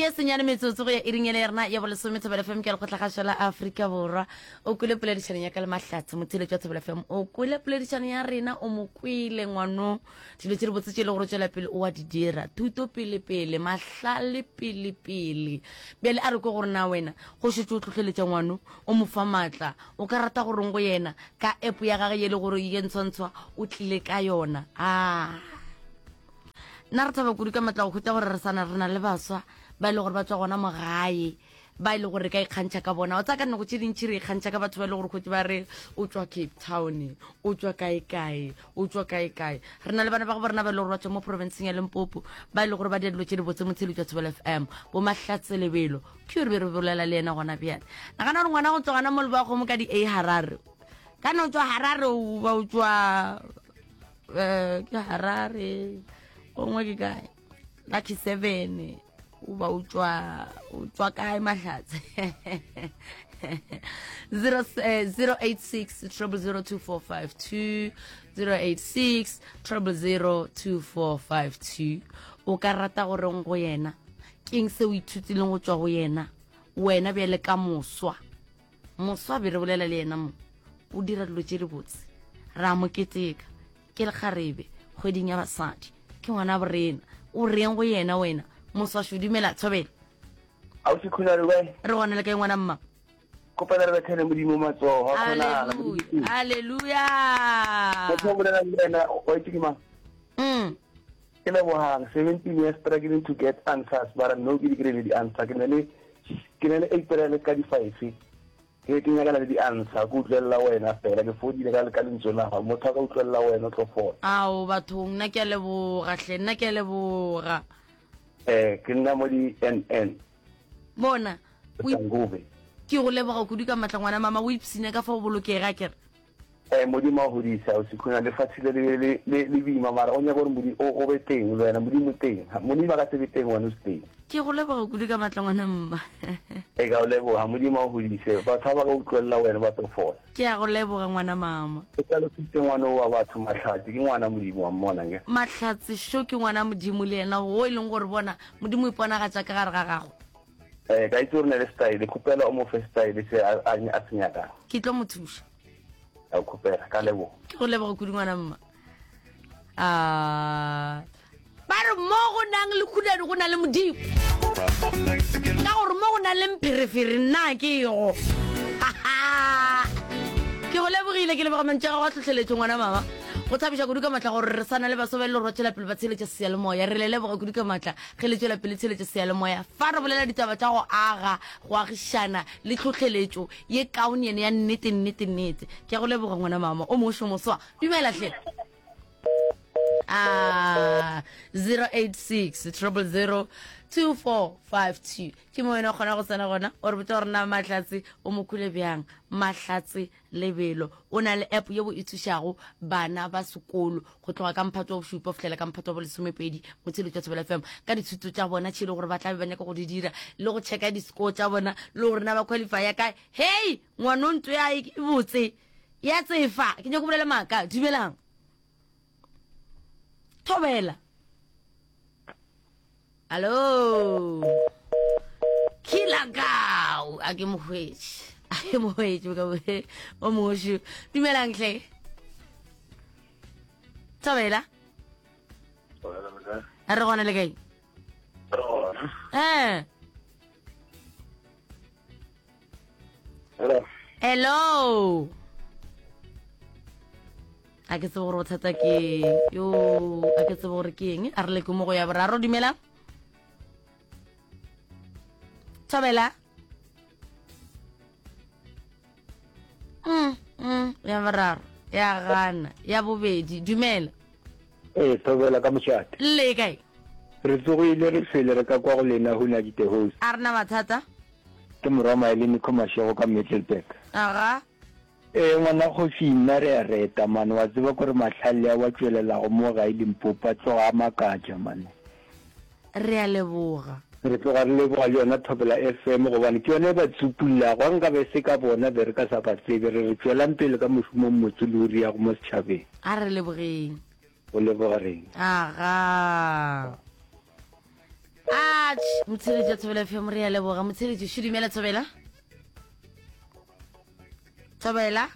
Ke senyane metsotso go ya iring ele ya rena ya bolesome Thobela FM ke lekgotlagašo la Afrika Borwa. O kwele poledišano ya ka le Mahlatse motheeletši wa Thobela FM. O kwele poledišano ya rena o mo kwele ngwano dilo tše di botse tše e le gore o tšwela pele o a di dira. Thuto pele pele, mahlale pele pele. Bjale a re kwe gore na wena go šetše o hlohleletša ngwano o mo fa maatla o ka rata goreng go yena ka app ya gage ye le gore ye ntshwantshwa o tlile ka yona. Ah. Nna re thaba kudu ka matla go hwetša gore re sana re na le baswa ba e le gore ba tswa gona mo gae ba e le gore re ka ikgantšha ka bona. O tsaya ka nako tše dintšhi re ikgantšha ka batho ba e le gore hwetše ba re o tswa Cape Town, o tswa kae kae, o tswa kae kae. Re na le bana ba go rena ba e le gore ba tswa mo provinceng ya Limpopo ba e le gore ba dira dilo tše dibotse mo Tsheletšwa Thobela FM, bo Mahlatse Lebelo. Ke yo re be re bolela le yena gona bjale. Nagana gore ngwana go tswa gona mo Lebakgomo ka di A Harare. Kana o tswa Harare o ba o tswa eh ke harare gongwe ke kae lucky seven o ba o tswa o tswa kae mahlatse 086 0002452 086 0002452 o ka rata goreng go yena keng se o ithutileng go tswa go yena wena bjale ka moswa Moswa be re bolela le yena mo, o dira dilo tše dibotse. Re a mo keteka. Ke lekgarebe, kgweding ya basadi. Ke ngwana borena. O reng go yena wena? Moswa šo dumela, Thobela. Ausi Khulare we. Re gona le kae ngwana mma? Kopela re bethele Modimo matsogo, a kgonagala. Hallelujah. Hallelujah. Motho o bolela le wena o itse ke mang? Mm. Ke lebogang 17 years struggling to get answers but no ke di kry-ile di-answer ke ne le ke ne le April ka di-five ke ke nyakana le di-answer ke utlwelela wena fela ke fodile ka ka lentswe la gago motho a ka utlwelela wena o tlo fola ao bathong nna ke a leboga hle nna ke a leboga eh ke nna mo di NN bona ke go leboga kudu ka matla ngwana mama o ipsine ka fa o bolokega kere Eh, Modimo a godisa o sekhuna lefatshe le le le le le boima mara o nyaka gore Modimo o o be teng le wena Modimo teng Modimo a ka se be teng wena o se teng. Ke go leboga kudu ka matla ngwana mma. E ka o leboga Modimo a godise batho ba ba ka utlwelela wena ba tlo fola. Ke a go leboga ngwana mama. O hlalositse ngwana o wa batho Mahlatse ke ngwana Modimo wa mmona nke. Mahlatse sho ke ngwana Modimo le yena wo e leng gore bona Modimo o iponagatša ka gare ga gago. Eh ka itse gore ne le style khopela o mo fe style se a a se nyakang. Ke tlo mo thuša. A khopela ka leboga. Ke go leboga kudu ngwana mma. Ah ba re mo go nang le khulane go na le modimo ka gore mo go nang le mpherefere nna ke go ke go lebogile ke leboga mantši a gago a tlhotlheletšo ngwana mama go thabiša kudu ka matla gore re sana le baso ba e le gore ba tšwela pele ba tsheletša seyalemoya re le leboga kudu ka matla Ge le tšwela pele tsheletšo seyalemoya, fa re bolela ditaba tša go aga, go agišana le tlhohleletšo ye kaone yene ya nnete, nnete, nnete. Ke a go leboga ngwana mama o mošo moswa. Dumela hle. Ah, 086 000 2452 ke mo wena o kgona go tsena gona o re botsa gore na Mahlatse o mo kwele bjang. Mahlatse Lebelo o na le app yeo e thušago bana ba sekolo go tloga ka mphato wa bošupa go fihlela ka mphato wa bolesomepedi mo Tsheletšo ya Thobela FM ka dithuto tša bona tše e le gore ba tla be ba nyaka go di dira le go checka di-score tša bona le gore na ba qualifya kae. Hei ngwano ntho ya e botse ya tsefa ke nyako bolela maaka. Dumelang. Thobela. Hallo. Kilakau a ke mohwetše. A ke mohwetše ka o moshu. Dumelang hle. Thobela. Re gona le kae? Eh. Hello. Hello. A ke tsebe gore bothata ke yo a ke tsebe gore ke eng a re leke mo go ya boraro dumela thobela mm, mm, ya boraro ya gana ya bobedi dumela Ee, thobela ka mošate. Le kae? Re tsogile re fele re ka kwa go lena Huna di the host. A re na mathata. Ke morwa Maele Nico Mashego ka Middelburg. Aga. Ee ngwana kgoši nna re a reta man wa tseba kore mahlale a wa tšwelelago mo gae Limpopo a tloga a makatša man. Re a leboga. Re tloga re leboga le yona Thobela FM gobane ke yona e ba tsupullago. Ga nka be e se ka bona be re ka sa ba tsebe. Re re tšwelang pele ka mošomo o mmotse le o riago mo setšhabeng. A re lebogeng. Go leboga rena. Aga. Atšh. Motsheletši wa Thobela FM re a leboga. Motsheletši šo dumela Thobela. Thobela.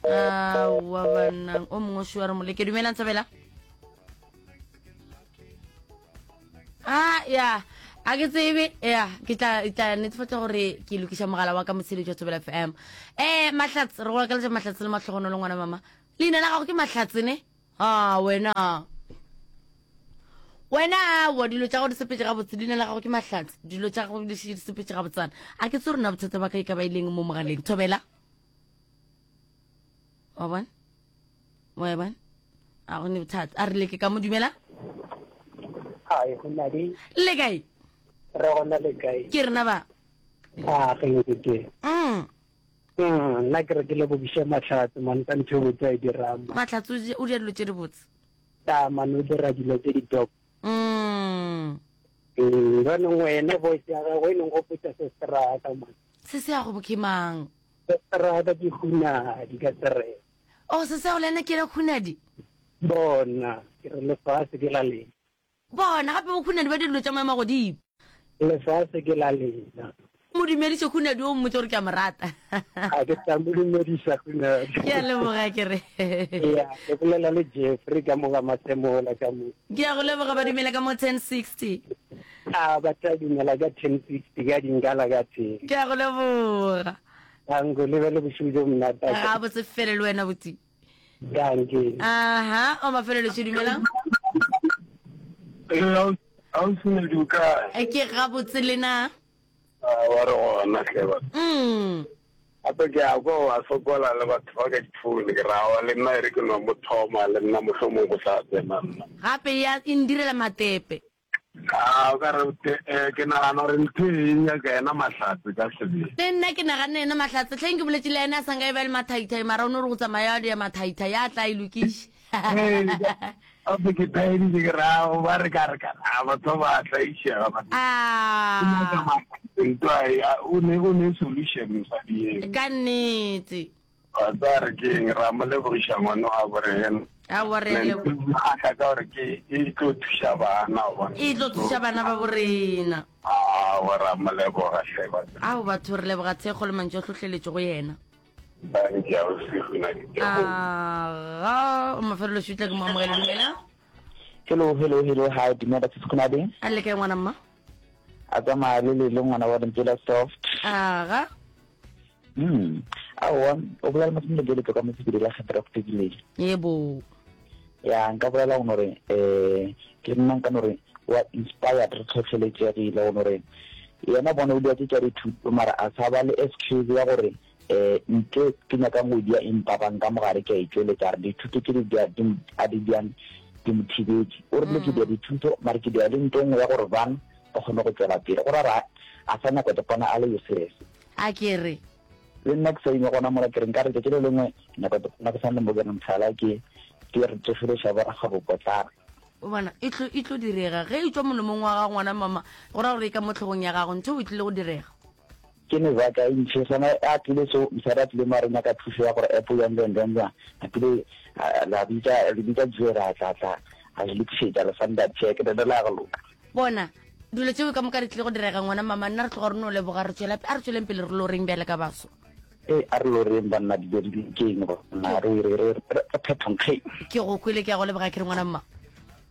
Aowa banna o mongwe šo wa re moleke dumelang Thobela. Ah ya a ke tsebe ya ke tla tla netefatsa gore ke lokiša mogala wa ka motsheletši wa Thobela FM. Eh Mahlatse re go akaletša Mahlatse le mahlogonolo ngwana mama. Leina la gago ke Mahlatse ne? A wena wena aowa dilo tša gago di sepetse gabotse leina la gago ke mahlatse dilo tša gago di sepetse gabotsana a ke tse rona bothata ba ka e ka ba e leng mo mogaleng thobela wa bona wa e bona a go ne bothata a re leke ka mo dumela Hi, go na le le kae re gona le kae? ke rena ba A ge ke ke. mm Mm, nna ke re ke lebogiše Mahlatse man ka ntho e botse a e dirang. man. Mahlatse o di- o dira dilo tše di botse Ta man o dira dilo tse di dope. mm Mm, jaanong wena voice ya gago e neng gopotsa sestrata man. se se ya go ke mang Sestrata ke hunadi ka serena. o se se ya go le ena ke ena khunadi Bona, ke re lefase ke la lena. Bona gape bo Khunadi ba dilo tša maemo a godimo. Lefase ke la lena. Mo dumediše Khunadi o mmotse gore ke a mo rata. A ke tla mo dumediša Khunadi. Ke a leboga ke re. Ya, ke bolela le Jeffrey ka mo ga Masemola ka mo. Ke a go leboga ba dumela ka mo 1060. A ba tla dumela ka 1060 ka dinkala ka teng. Ke a go leboga. Tanko le be le bošego jo monate. Ga botse fele le wena botsi. Dankie. Aha, o mafelelo še dumelang. Ausi o kae? E ke gabotse le na. Ah, wa re gona hle ba. Mm. Gape ke a kwa wa sokola le batho ba ka difoune ke ra wa le nna e re ke no mo thoma le nna mohlomong go tla tsena nna. Gape ya e ndirela matepe. A o ka re eh, ke nagana gore ntho e nyaka yena Mahlatse ka sebele. Le nna ke naganne yena Mahlatse. Hleng ke boletše le yena a sa nka e ba le mathaithai mara o no re go tsamaya ya mathaithai a tla e lokiše. Ee, gape ke thaeditše ke re ao ba re ka re ka a batho ba tlaišega ba. Ah. Ntwa e, a, o ne o ne solution mosadi eo. Ka nnete. Wa tseba re ke eng, ra mo lebogiša ngwana wa bo rena. Aowa re a leboga. Kgahla ka gore ke e tlo thuša bana wa bona. E tlo thuša bana ba bo rena. Aowa ra mo leboga hle batho. Ao batho re leboga thekgo le mantšu a hlohleletšo go yena. Thank you ausi gona ke Aga, o mafelelo šutla ke mo amogele dumela. Hello, hello, hello, hi, dumela sisi Khonadi. A le kae ngwana mma? A tsamaya le le le ngwana wa lentswe la soft. Aga. Mm. Aowa, o bolela masome le ka mo sebele la kgethera go fedile. Yebo. Ya, nka bolela go nore eh ke nna nka nore wa inspired re tlhotlheletšegile go nore yena bona o dia tše tša dithuto mara a sa ba le excuse ya gore eh nto ke nyakang go dia empa ba nka mogare ke a e tšweletša re dithuto tše di a di diang di mo thibetše o rile ke dia dithuto mara ke dia le nto nngwe ya gore bang ba kgone go tšwela pele go ra ra a sa nyaka go bona a le useless A ke re. Le nna ke sa ime gona mola ke re nka re tšatši le lengwe nako nna ke sa le mo ke re mohlala ke ke re tsošološa borakgwebopotlana. O bona, e tlo, e tlo direga. Ge e tšwa molomong wa gago, ngwana mama, go ra gore e ka mo hlogong ya gago. Ntho e tlile go direga. Ke mebaka e ntši. Sona a tlile so, mosadi a tlile mo a re nyaka thušo ya gore app jwang jwang jwang jwang. A tlile la bitša, le bitša Jerry a tla tla a le lokišetša le sanda check, le la go loka. Bona, dilo tšeo ka moka di tlile go direga, ngwana mama. Nna re tloga re no leboga, re tšwela, a re tšweleng pele re loreng bjale ka baso. Ee, a re loreng banna, dilo di lokeng banna, re, re, re, re, re phethong kge. Ke go kwele, ke a go leboga, ke re ngwana mma.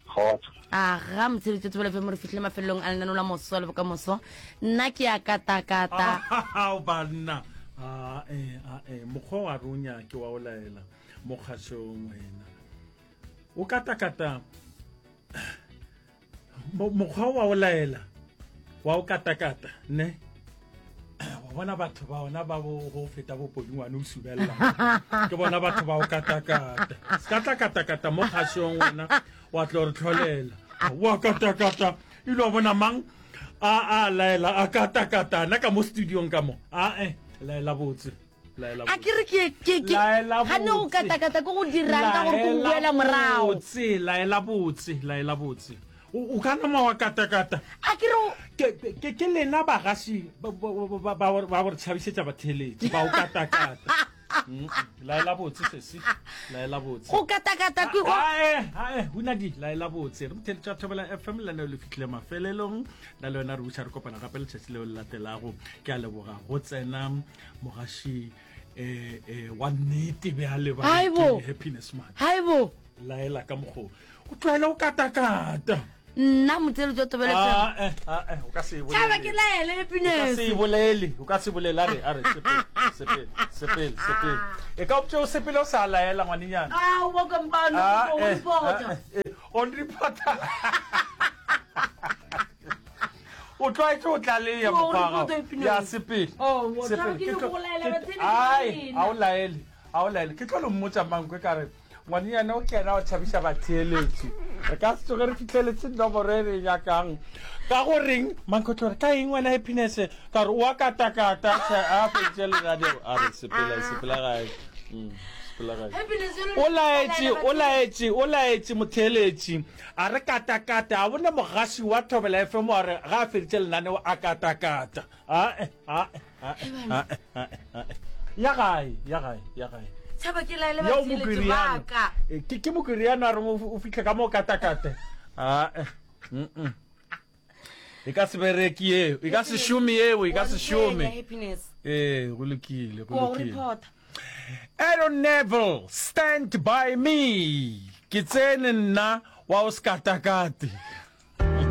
Kgotso. Aga, motsheletso Thobela FM, re fihlile mafelelong a lenaneo la moso le bokamoso. Nna ke a katakata. Ao banna, a e, a e, mokgwa wa re o nyake wa o laela mo kgašong wena. O katakata. Mokgwa wa o laela wa o katakata ne wa bona batho ba ona ba go feta bopodingwane o subelela ke bona batho ba o katakata se ka tla katakata mo kgašong wena wa tlo re tlholela wa katakata ile wa bona mang a a laela a katakata na ka mo studiong ka mo a e laela botse A ke re ke ke ke ga ne go katakata ke go dirang ka gore ke go boela morago. Botse, laela botse, laela botse. O ka nama wa katakata. A ke re ke ke ke lena bagaši ba ba ba re tshabisetsa batheletši ba o katakata. Laela botse sesi. Laela botse. Go katakata ke go. Ae, ae, hunadi, laela botse. Re motheletša Thobela FM lenaneo le fihlile mafelelong. Na le wena re buša re kopana gape letšatši leo le latelago. Ke a leboga go tsena mogaši eh eh wa nnete bjale ba Haibo. ke happiness man. Haibo. Laela ka mokgo. O tlwaele go katakata. Nna motheletši wa Thobela FM. Ah, eh, ah, eh, o ka se e bolele. Tšhaba ke laele O ka happiness. se e bolele, o ka se bolele. A re, a re, sepele, sepele, sepele, sepele. E ka optše o sepele o sa laela ngwanenyana. Ah, o boka mpano, Ah, o eh, reporta. ah, eh, on reporta. O tlwaetše o tlaleya O mokgwa wa report gago. happiness. Ya sepele. Oh, mo- Sepele. tšhaba ke Ke nyoko tlo- go laela ke- batheeletši ba Ai, rena. a o laele, a o laele. Ke tlo le mmotša mankwe ka re Ngwanenyana o kena o tšhabiša batheeletši. Re ka se tsoge re fihleletše nomoro e re e nyakang. Ka go reng? Mankotlo re ka eng wena Happiness? Ka re o a katakata a feditše lenaneo. A re sepela, sepela gae. Mm, sepela gae. O laetše, o laetše, o laetše motheeletši. A re katakata, a bone mogaši wa Thobela FM wa re ga a feditše lenaneo a katakata. Ae, ae, ae, ae, ae, ae. Ya gae, ya gae, ya gae. Tshaba ke laele Yeo batheeletši Mokiriano. ba ka. Eh, Ke ke Mokiriano a reng o o fihle ka mo katakate. Ae. Mm. E ka se bereke yeo, e ka se šome yeo, e ka se šome. Happiness. Ee, go lokile, go Ko lokile. reporta. Aaron Neville, Stand by Me. Ke tsene nna wa o sekatakate.